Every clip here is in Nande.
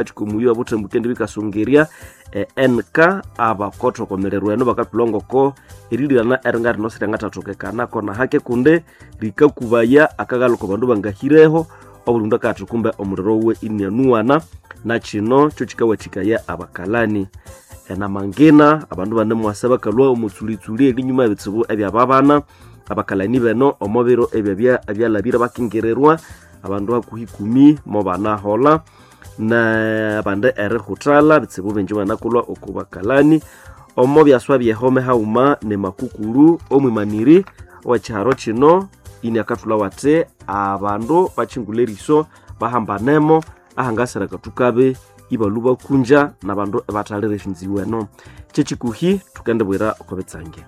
Omukathi obuthembu kendi bikasungiria NK abakothokomererwa eno bakathulha erilirana eringa rino siryangathathokekana kona hake kundi rikakubaya akaghalha bandu bangahireho obuli mundu akatha kumbe omuliro wuwe inianuwana nakino kyo kikawathikaya abakalani. Enamangina abandu banemwasa bakalhwa omwitsulitsuli erinyuma ebitsibu ebyababana abakalani beno omo biro ebyo ebyalhabire bakingirirwa abandu hakuhi ikumi mobanaholha nabandi erihuthalha bitsibu bingi banakulwa oku bakalani. Omo byaswa byehome haghuma nemakukuru omwimaniri owekiharo kino iniakathulhawo athi abandu bakyingulha eriso bahambanemo ahangasira akathukabi ibalhwa bakunja nabandu ibathalira esyonziwu eno. Kyekikuhi thukendibwira oko bitsange.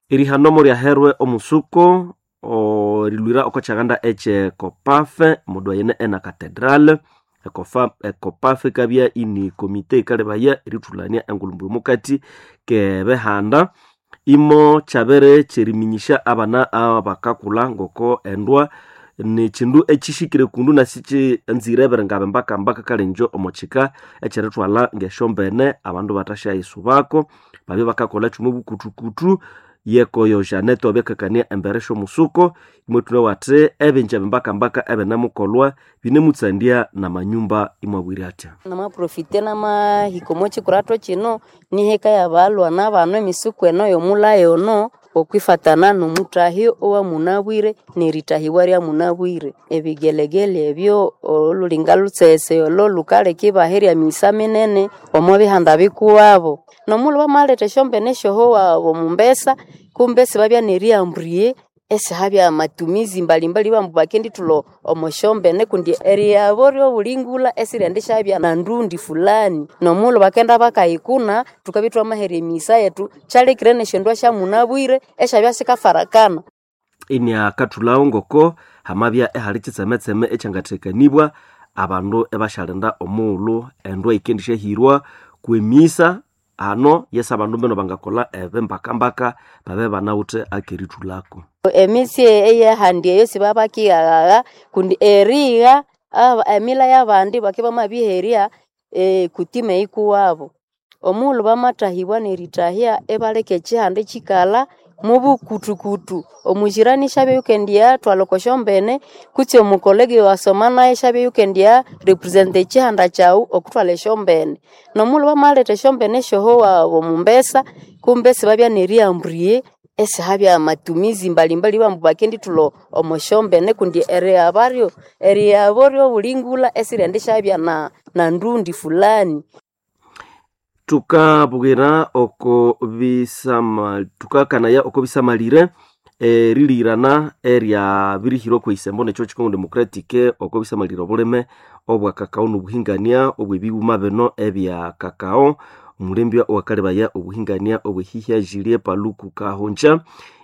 Erihano moryaherwe omusuko erilhwira oko kyaghanda ekye Copafe omodwayene ena Cathedral. Ecopafe ikabya ini komite yikalebaya erithulania engulhumbu omukati kebihanda. Imo kyabere kyeriminyisya abana abakakulha ngoko endwa nikyindu ekyihikire kundu nasikinzire ebiringa mbakambaka kale ingyo omo kika ekyerithwalha ngesyombene abandu bathasyayisubako babye bakakolha kyuma bukuthukutu. Yekoyo Janete wabikakania embere syomusuko imwathulhawo athi ebingi ebimbakambaka ebinemukolwa binemutsandya namanyumba imwabwira athya. Namaprofite namahika omo kikurato kino niheka yabalhwana bano emisuku eno yomulhayi ono okwifatana nomuthahi owamunabwire nerithahibwa lyamunabwire. Ebigelegele ebyo olulinga lutsese olo lukaleka ibaherya emigisa minene omo bihanda bikuwabo. Nomughulhu bamaletha esyombene esyohowa omumbesa kumbe sibabya neriyambuye esihabya matumizi mbalimbali ibabugha ambu bakendithulha omo syombene kundi eriyabo ryobulingulha esiryendisyabya nandundi fulani. Nomughulhu bakenda bakayikuna thukabya ithwamaherya emigisa yethu kyalekire nesyondwa syamunabwire esyabya sikafarakana. Iniakathulhawo ngoko hamabya ihali kyitsemetseme ekyangathekanibwa abandu ibasyalinda omughulhu endwa yikendisyahirwa kwemisa hano yesi abandu mbeno bangakolha ebimbakambaka babye banawithe akerithulhako. Emisi eyahandi eyo sibabakighaghaga kundi erigha emila yabandi bakibya bamabiherya kutima eyikuwabo. Omughulhu bamathahibwa nerithahya ibaleka ekihanda ikikalha mubukuthukutu. Omujirani isyabya yukendiyathwalha oko syombene kutse omukolege owasoma nayo isyabya yukendiya represent ekihanda kyaghu okuthwalha esyombene. Nomughulhu bamaletha esyombene esyohowa omumbesa kumbe sibabya neriyambuye esihabya matumizi mbalimbali ibabugha ambu bakendithulha omo syombene kundi eriyabo ryobulingulha esiryendisyabya nandundi fulani. Thukabwira oko bisama thukakanaya oko bisamalire erilirana eryabirihirwa okwisembo nekyo Congo Democratic oko bisamalire obulime obwa kakao nobuhingania obwebighuma bino ebya kakao. Omulembya owakalebaya obuhingania obwehihya Julie Paluku Kahongya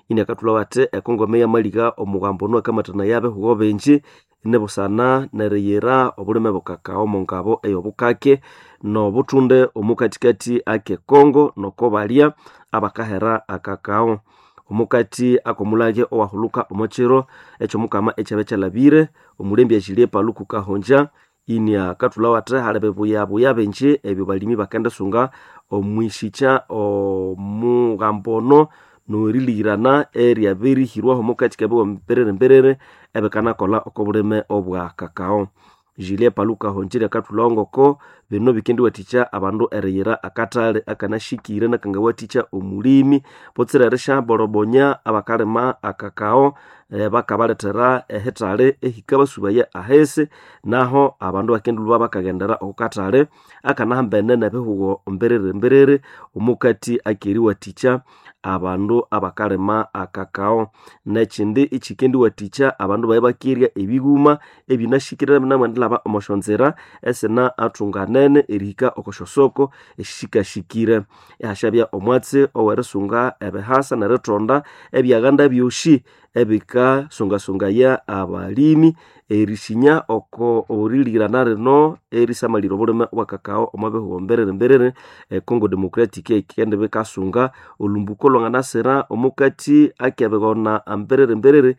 iniakathulhawo athi ekongome yamaliga omughambo ono akamathanaya abihugo bingi nibusana neriyira obulime bwekakao omongabo eyobukake nobuthunde omukathikathi ake Congo noko balya abakahera akakao. Omukathi akomulage owahuluka omokiro ekyomukama ekyabya kyalhabire omulembya Julie Paluku Kahongya iniakathulhawo athi hali bibuyabuya bingi ebyo balimi bakendisunga omwisikya omughambo ono nerilirana eryabirihirwaho omukathi kebihugo mbiriri mbiriri ebikanakolha oko bulime obwa kakao. Julie Paluku Kahongya akathulhawo ngoko bino bikendiwathikya abandu eriyira akathali akanashikire nakangawathikya omulimi butsira erisyaborobonyo abakalima akakao bakabalethera ehithali ehikabasubaya ahisi naho abandu bakendilhwa bakaghendera oko kathali akanahambene nebihugo mbiriri mbiriri omukathi akeriwathikya abandu abakalima akakao. Nekyindi ikyikendiwathikya abandu babye bakirya ebighuma ebinashikire binamwendilhaba omo syonzira esina athunganene erihika oko syosoko esishikashikire. Ihasyabya omwatsi owerisunga ebihasa nerithonda ebyaghanda byosi ebikasungasungaya abalimi erisinya oko erilirana rino erisamalira obulime obwa kakao omo bihugo mbiriri mbiriri. Congo Democratic yikendibikasunga olhumbuko lwanganasira omukathi akebighona mbiriri mbiriri.